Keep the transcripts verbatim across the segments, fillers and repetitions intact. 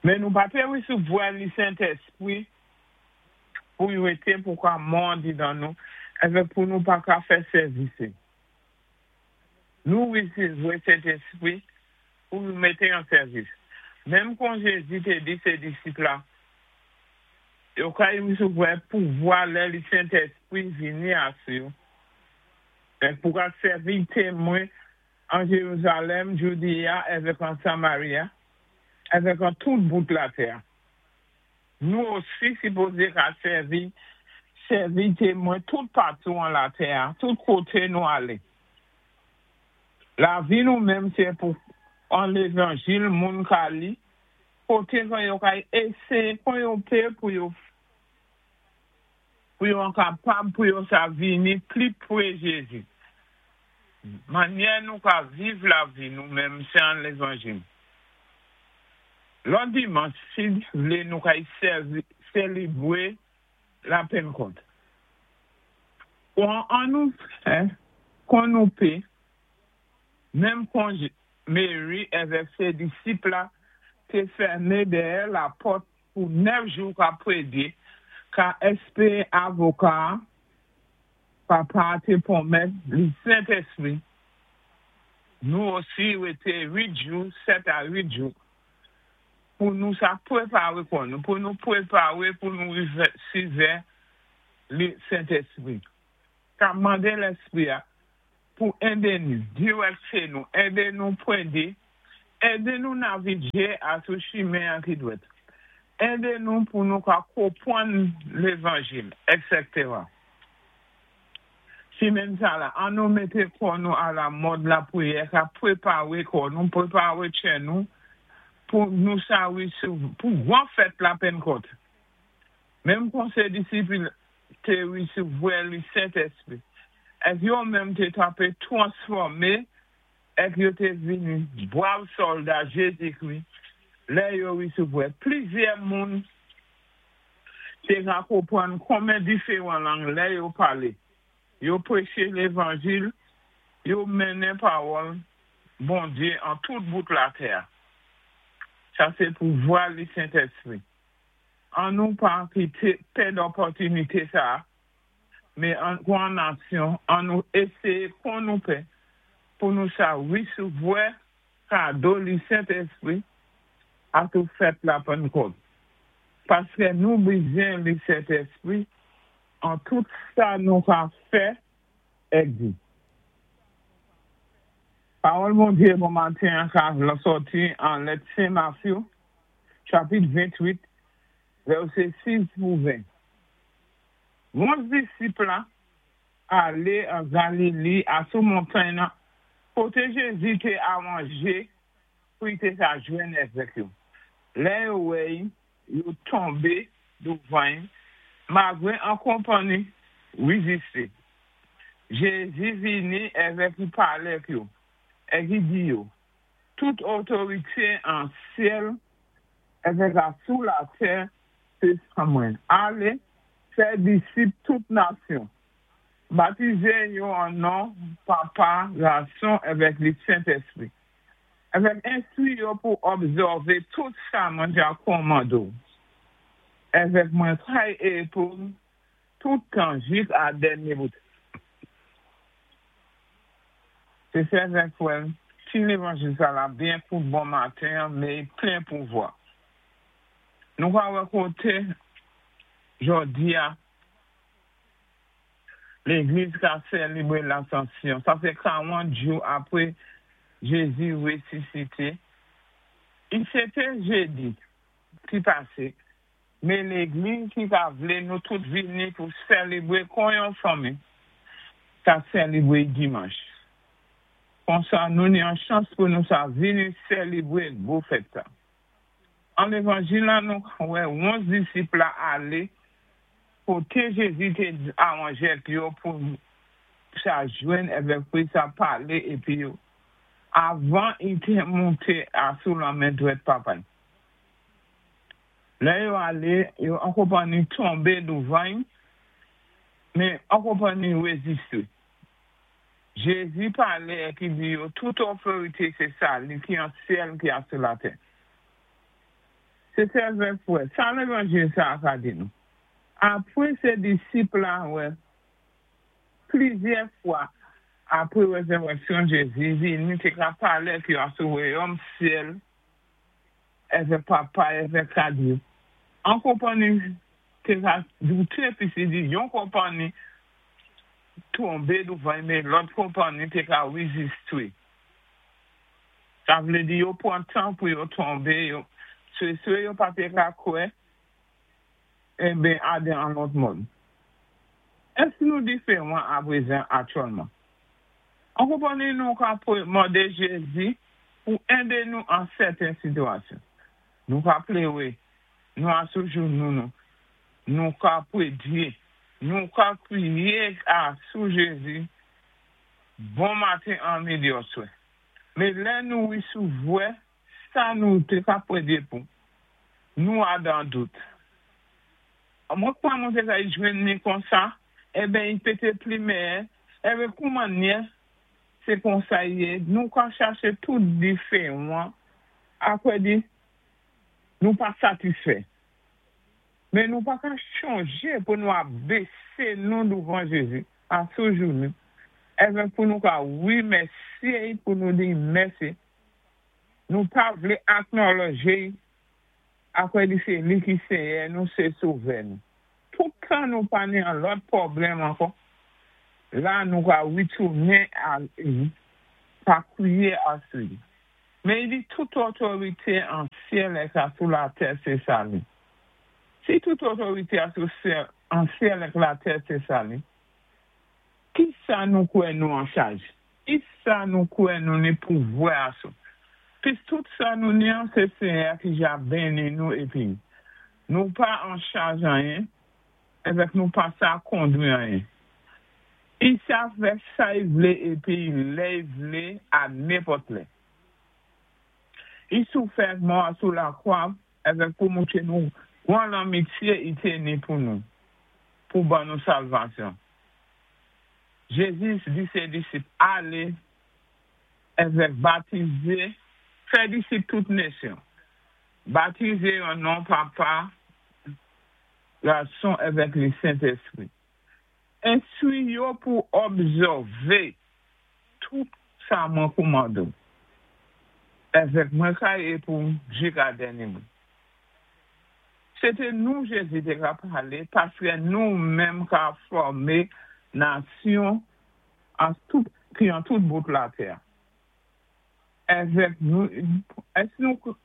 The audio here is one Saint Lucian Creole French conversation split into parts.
Men nou pa té wésévwè li Sentèspwi pou i wété pou ka mò andidan nou, èvèk pou nou pa ka fè sèvis. Nou wésévwè Sentèspwi pou nou mété an sèvis. Menm kon Jézi té di sé disip la, yo kay wésévwè pouvwa lè li Sentèspwi vini asou yo. Èk pou ka sèvi témwen an Jéwousalèm, Joudéya, èvèk an Samaria, èvèk an tout bout latè. Nou osi sipozé ka sèvi, sèvi témwen tout patou an latè, tout koté nou alé. Lavi nou menm sé pou an lévanjil moun ka li, koté kon yo kay éséyé, kon yo pé pou yo pou yo an kapab pou yo sa vini pli pwé Jézi. Mannyè nou ka viv lavi nou menm sé an lévanjil. Lòt dimanch, si vlé nou kay sélébwé la Pennkòt. Kon an nou fè, kon nou pé, menm kon Mary èvèk sé disip la té fèmen dèyè lapòt pou nèf jou ka prédé, ka èspéwé avoka, Papa té pwomèt li Sentèspwi. Nou osi wété uit jou, sèt a uit jou, pou nou sa pwépawé kò nou, pou nou pwépawé pou nou wésévwè li Sentèspwi. Ka mandé Lèspwi a pou édé nou, diwèkté nou, édé nou pwédé, édé nou navigé asou chimen an ki dwèt. Édé nou pou nou ka konpwann lévanjil, et cetera. Simenn sa la, an nou mété kò nou a la mòd lapwiyè, ka pwépawé kò nou, pwépawé tchè nou, pou nou sa pou gwan fèt la Pennkòt. Menm kon sé disip té wésévwè li Sentèspwi. Èk yo menm té tapé twansfòmé, èk yo té vini bwav sòlda Jézikwi, lè yo wésévwè. Plizyè moun té ka konpwann konmen diféwan lang lè yo palé. Yo pwéché lévanjil, yo mennen pawòl Bondyé an tout bout latè. Sa sé pouvwa li Sentèspwi. An nou pa kité pèd òpòtinité sa, men an kwa nasyon, an nou éséyé kon nou pé, pou nou sa wésévwè kado li Sentèspwi asou fèt la Pennkòt. Paské nou bizwen li Sentèspwi an tout sa nou ka fè èk di. Pawòl Bondyé bon maten ka la sòti an lèt Sen Mathieu, chapit venntwit, vèsé sis pou ven. Onz disip la alé an Galilé asou montay nan koté Jézi té awanjé pou i té sa jwenn èvèk yo. Lè yo wè yo tonbé douvan, malgwé an konpanni wézisté. Jézi vini èvèk i palé ak yo. Èk i di yo, tout otorité an syèl èvèk asou latè sé sa mwen. Alé, fè disip tout nasyon. Batizé yo an non Papa, Gason èvèk li Sentèspwi. Èvèk enstwi yo pou òbsèvé tout sa mwen dja kòmandé ou. Èvèk mwen kay é pou tout tan jis a dènyé bout. Sé sè èvèk frè, ti lévanjil sa la byen kout bon maten, men plen pouvwa. Nou ka wè koté jòdi a, légliz ka sélébwé Lasansyon. Sa sé karant jou apwé Jézi wésisité. I sé té jédi ki pasé, men légliz ki ka vlé nou tout vini pou sélébwé kon yon fanmi, ka sélébwé dimanch. Konsa nou ni an chans pou nou sa vini sélébwé gwo fèt sa. An lévanjil la nou wè onz disip la alé koté Jézi té awanjé yo pou sa jwenn èvèk pou sa palé épi yo avan i té monté asou la men dwèt Papa. Lè yo alé, yo an konpanni tonbé douvan, men an konpanni wézisté. Jézi palé èk i di yo, tout otorité sé sa, li ki an syèl ki asou latè. Sé sè èvèk frè, sa lévanjil sa ka di nou. Apwé sé disip la wè, plizyè fwa apwé rézirèksyon Jézi, vini té ka palé èk yo asou wayòm syèl èvèk Papa èvèk ka di. An konpanni té ka douté pi si di yon konpanni tonbé douvan mé lòt konpanni té ka wizistwé. Sa vlé di yo pwan tan pou yo tonbé, yo swé swé yo pa té ka kwè, enben adé an lòt mòd. Èsk nou diféwan apwézan aktyèlman? An konpanni nou ka mandé Jézi pou édé nou an sèten sitiyasyon. Nou ka pléwé, nou asou jounou nou, nou ka pwédyé, nou ka kwiyé asou Jézi bon maten an midi oswè. Mé lè nou wisouwè, sa nou té ka pwédyé pou, nou adan dout. Mwen kwa mwen té ka jwenn ni konsa, enben i pété pli méyè, enben kouman nyè, sé konsa yé, nou ka chaché tout diféwan, apwé di, nou pa satisfè. Mé nou pa ka chanjé pou nou abésé nou douvan Jézi, asou jounou, èvèk pou nou ka wimèsyé, pou nou di mèsi. Nou pa vlé aknolòjé, apwé di sé li ki Séyè, nou sé Sovè nou. Tout tan nou pa ni an lòt pwoblèm ankò, la nou ka witounen a pa kwiyé asou li. Mé i di tout otorité an syèl èk asou latè sé sa li. Si tout otorité asou syèl, an syèl èk latè sé sa li, ki sa nou kwè nou an chaj? Ki sa nou kwè nou ni pouvwa asou? Pis tout sa nou ni an sé Séyè ki ja béni nou épi. Nou pa an chaj anyen, èvèk nou pa sa kondwi anyen. I sa fè sa i vlé épi lè i vlé a nenpòt lè. I soufè mò asou lakwa èvèk pou moutré nou gwan lanmityé i té ni pou nou, pou ban nou salvasyon. Jézi di sé disip alé èvèk batizé, fè disip tout nésyon. Batizé an non Papa, Gason èvèk li Sentèspwi. Enstwi yo pou òbzèvé tout sa mwen koumandoù. Èvèk mwen kay é pou jika dènyé bout. Sé té nou Jézi té ka palé, paské nou menm ka fòmé nasyon an tout, ki an tout bout latè. Èvèk nou, èsk nou,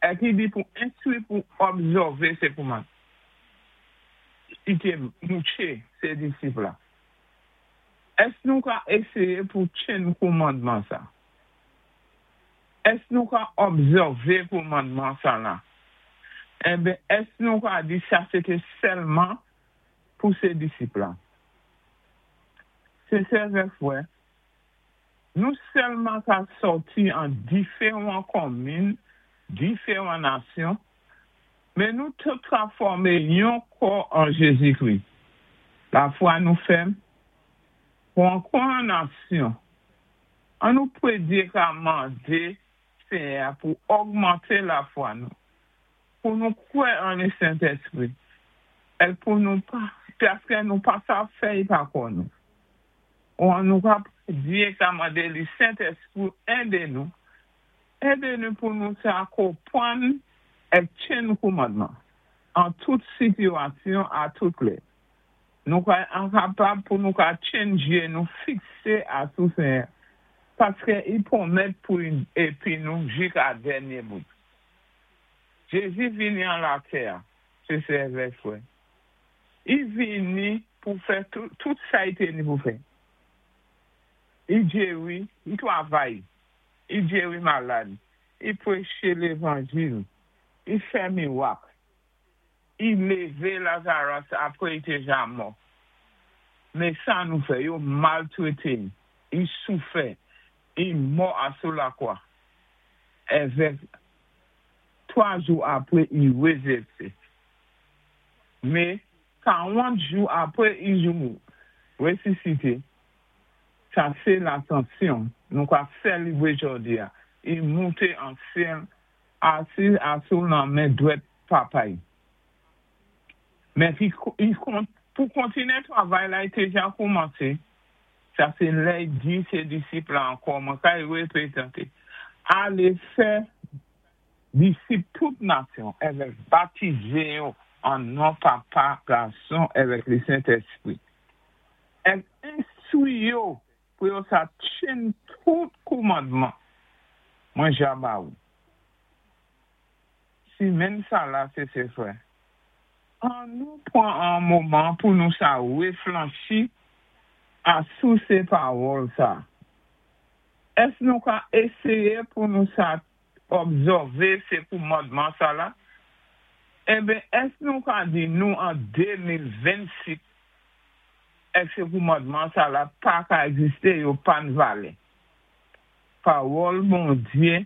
èk i di pou enstwi pou òbzèvé sé kouman. I té moutré sé disip la. Èsk nou ka éséyé pou tjenn koumadman sa? Èsk nou ka òbzèvé koumadman sa la? Enben, èsk nou ka di sa sé té sèlman pou sé disip la? Sé sè èvèk frè, nou sèlman ka sòti an diféwan konmin, diféwan nasyon, mé nou tout ka fòmé yon kò an Jézi-Kri. Lafwa nou fèm, pou an kwa nasyon, an nou pwédyé ka mandé Séyè pou ògmanté lafwa nou, pou nou kwè an li Sentèspwi, èk pou nou pa, paské nou pa sa fè pa kò nou. Ou an nou ka pwédyé ka mandé li Sentèspwi édé nou, édé nou pou nou sa konpwann èk tjenn koumadman, an tout sitiyasyon a tout lè. Nou ka enkapab pou nou ka tjenn jé nou fiksé asou Séyè, paské i pwomèt pou épi nou jika dènyé bout. Jézi vini an latè, sé sè èvèk frè. I vini pou fè tout, tout sa i té ni pou fè. I jéri, i twavay, i jéri malad, i pwéché lévanjil, i fè miwak, i lévé Lazaras apwé i té ja mò. Mé sa nou fè, yo maltwété, i soufè, i mò asou lakwa. Èvèk twa jou apwé i wézirèkté. Mé karant jou apwé i jou wésisité, sa sé Lasansyon, nou ka sélébwé jòdi a. I monté an syèl Asi asou nan men dwèt Papa'y. Men pou kontiné twavay la i té ja koumansé, sa sé lè i di sé disip la ankò, mwen kay wépwézanté. Alé fè disip tout nasyon, èvèk batizé yo an non Papa, Gason, èvèk lé Sentèspwi. Èk enstwi yo pou yo sa tjenn tout koumandman mwen ja ba ou. Simenn sa la sé sé frè. An nou pwan an moman pou nou sa wéfléchi asou sé pawòl sa. Ès nou ka éséyé pou nou sa obsèvé sé koumandman sa la? Enben, ès nou ka di nou an de mil vennsis èk sé koumandman sa la pa ka ègzisté, yo pa ni valè? Pawòl Bondyé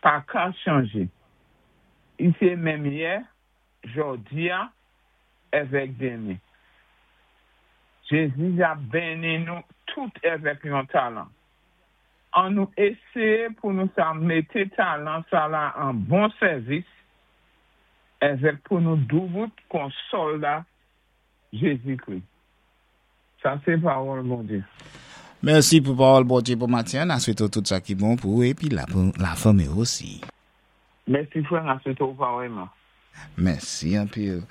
pa ka chanjé. I sé menm yè, jòdi-a, èvèk denmen. Jézi ja béni nou tout èvèk yon talan. An nou éséyé pou nou sa mété talan sa la an bon sèvis èvèk pou nou doubout kon sòlda Jézi-Kri. Sa sé pawòl Bondyé. Mèsi pou pawòl Bondyé pou matin. N a swété tout sa ki bon pou ou épi la, la fanmi osi. Mèsi frè, n a swété parèyman. Mèsi anpil.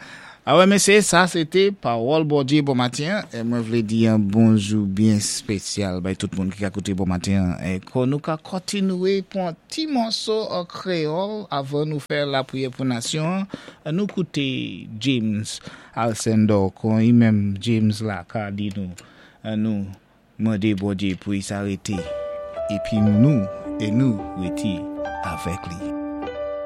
Awè mésyé, sa sété pawòl Bondyé bon matin. É mwen vlé di yon bonjou byen spésyal bay tout moun ki ka kouté bon matin. É kon nou ka kontinwé pou an ti mòso an kwéyòl avan nou fè lapriyè pou nasyon. Nou kouté James Alcindor kon i menm James la ka di nou nou mandé Bondyé pou i sa rété épi nou é nou rété avèk li.